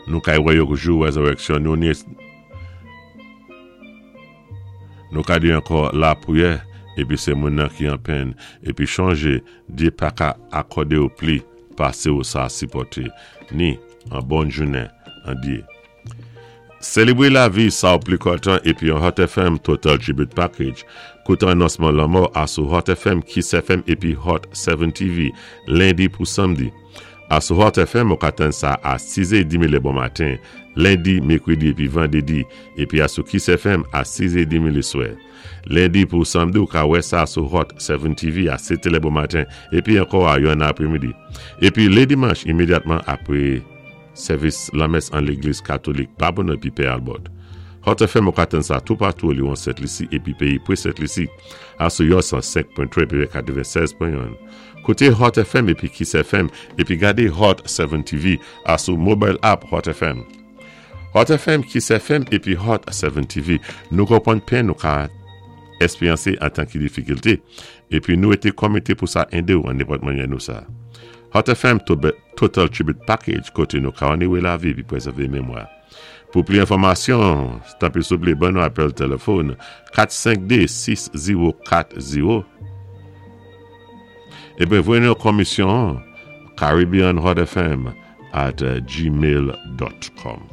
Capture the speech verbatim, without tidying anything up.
Nou kay wè yo jou wézéwéksyon nou ni nou ka di ankò lapwiyè épi sé moun nan ki an pèn épi chonjé Dye pa ka akòdé ou pli pasé ou sa sipòté ni an bòn jounen an Dye. Sélébré lavi sa ou pli kontan épi an Hot FM Total Tribute Package. Kouté anonsman lanmò asou Hot FM, Kiss FM épi Hot seven TV, lendi pou samdi. Asou Hot FM, ou ka tann sa a siz é dmi lé bon maten, lendi, mèkwédi épi vandédi, épi asou Kiss FM a siz é dmi lé swè. Lendi pou samdi, ou ka wè sa sou Hot seven TV a sèt lé bon maten, épi ankò a yon apwémidi. Épi lé dimanch, imédyatman apwé sèvis lamès an légliz katolik Babonneau épi Pè Albert. Hot FM ou ka tann sa toupatou li an Sent Lisi épi péyi pwé Sent Lisi asou yon san senk pwen twa épi katèwénsèz pwen yon. Kouté Hot FM épi Kiss FM épi gadé Hot seven TV asou mobile app Hot FM. Hot FM, Kiss FM épi Hot seven TV. Nou konpwann pèn nou ka èspéryansé an tan ki difikilté épi nou été komité pou sa édé ou an nenpòt mannyè nou sa. Hot FM Total Tribute Package koté nou ka onoré lavi épi pwézèvé mémwa. Pou pli enfòmasyon, tanpwi souplé ban nou apèl téléfòn kat senk dé sis zéwo kat zéwo épi voyé nou komisyon Caribbean Hot FM at gmail dot com.